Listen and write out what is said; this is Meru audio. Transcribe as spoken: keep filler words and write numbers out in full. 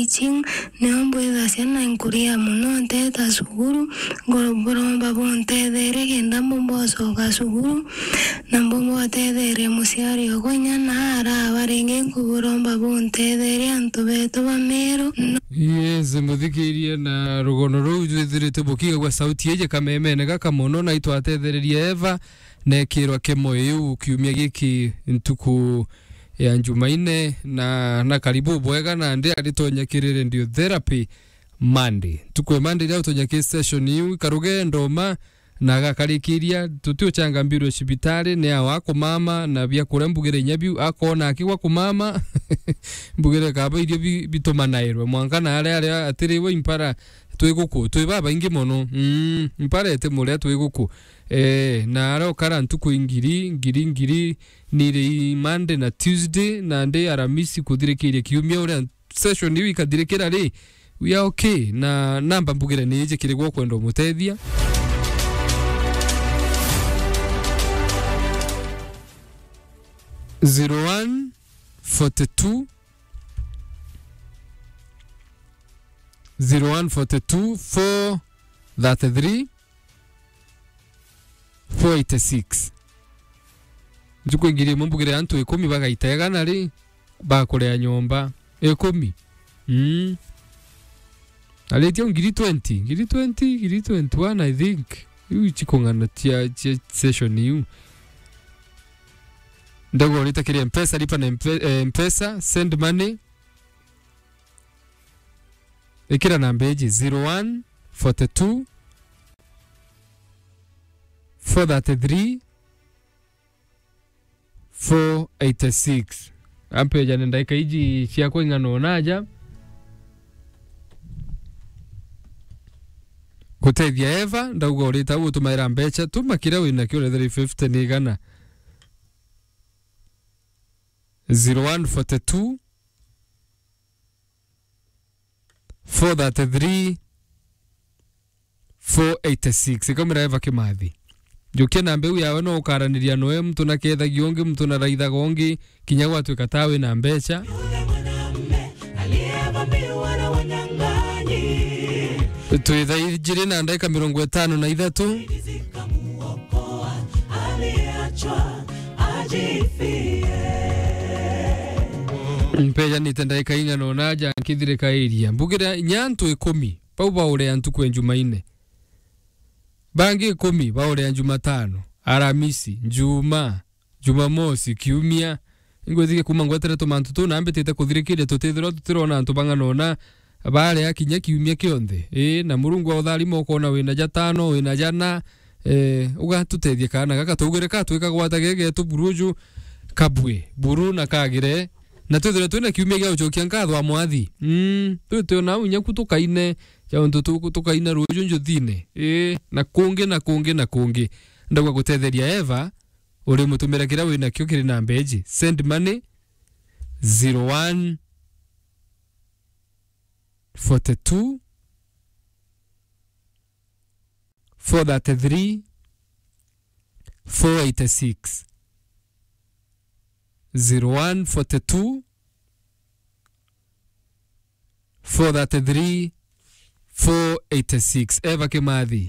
teaching, nio mbwithacia na nkuria mono nteta cukuru, nkuburomba buntetherie kenda mbumba gucoka cukuru, na mbumba gutetheria muciari okwa inya na araba ringi, nkuburomba buntetherie antu betu ba Meru. No- Yes, muthikirie na rugono ruu jwithirite bukigagua sauti iji kamemene gaka mono, na itwatethereria Eva nekirwa kimo iu kiumia giki ntuku ya Njumaine, na, na karibu bwega, na ndi aritonya kiri radiotherapy Monday. Ntuku ya Monday iria utonya ki session iu, ikarugendo ma, na agakarikiria, tuti uchanga mbirwe cibitari, ni awa akumama, na biakuria mbugire inya biu, akona akigwa kumama, mbugire kaba irio bi-, bitumanairwe, mwanka na aria, aria atiriwe impara, twi guku, twi babaingi mono. Mm, impara iti muria twi guku. Eh, na aria ukara ntuku ingiri, ngiri, ngiri, ni ri Monday na Tuesday, na ndi Aramisi kuthirikiria kiumia uria session iu ikathirikira ri, we are okay. Na namba mbugire ni iji kiri gwa kwenda umutethia. Zero one forty two, zero one forty two, four thirty three, four eighty six. Njuku ngiri imwe mbugire antu ikumi bagaita igana ri, bakuria nyomba. Ikumi. Mm. Aritie ngiri twenty, ngiri twenty, ngiri twenty-one, I think. Iu chikung'ana chia, chia session iu. Ndagorita kiri Mpesa, lipa na Mpe-, eh, Mpesa, send money. Ikira namba iji, zero one forty two, four thirty three, four eighty six. Ampejane ndaika iji ciakwa ing'ana ona aja. Gutethia Eva, ndauga urita au utumaira mbeca, tuma kiria wina kio, whether fifty ni igana. Zero one forty two, four thirty three, four eighty six. Ikamwira Eva Kimathi. Njukia namba iu yawe no ukaraniria noe, muntu na kethagia ungi, muntu na raithaga ungi, kinya gwatuika ta wina mbeca. Twi thaa ijiri na ndagika mirongo itano na ithatu. Mpejanite ndagika ing'ana ona aja nkithirikairia. Mbugira inya antu ikumi bau bauria ntuku ya Njumaine. Bangi ikumi bauria Njumatano, Aramisi, Njuma, Jumamosi, Kiumia. Ingwitikia kuma ngwetere tumantu tuu na mbitite kuthirikiria tutithirwa tutirona antu bang'ana ona baria kinya kiumia kionthe. Ii, na Murungu autharima ukona wina jatano, wina jana, eh, ugatutethia kana gaka twaugire ka twikagwata gegetu buru uju kabue, buru na kagire, na twithirwe twina kiumia gia gucokia nkatho a mwathi. Mm, twitwe nau inya ku tukaine, ja untu tu-, tukaina ruju njuthine. Ii, na kungi, na kungi, na kungi. Ndauga gutetheria Eva, uri mutumira kiria winakio kiri namba iji. Send money, zero one forty two, four thirty three, four eighty six. Zero one forty two, four thirty three, four eighty six. Eva Kimathi.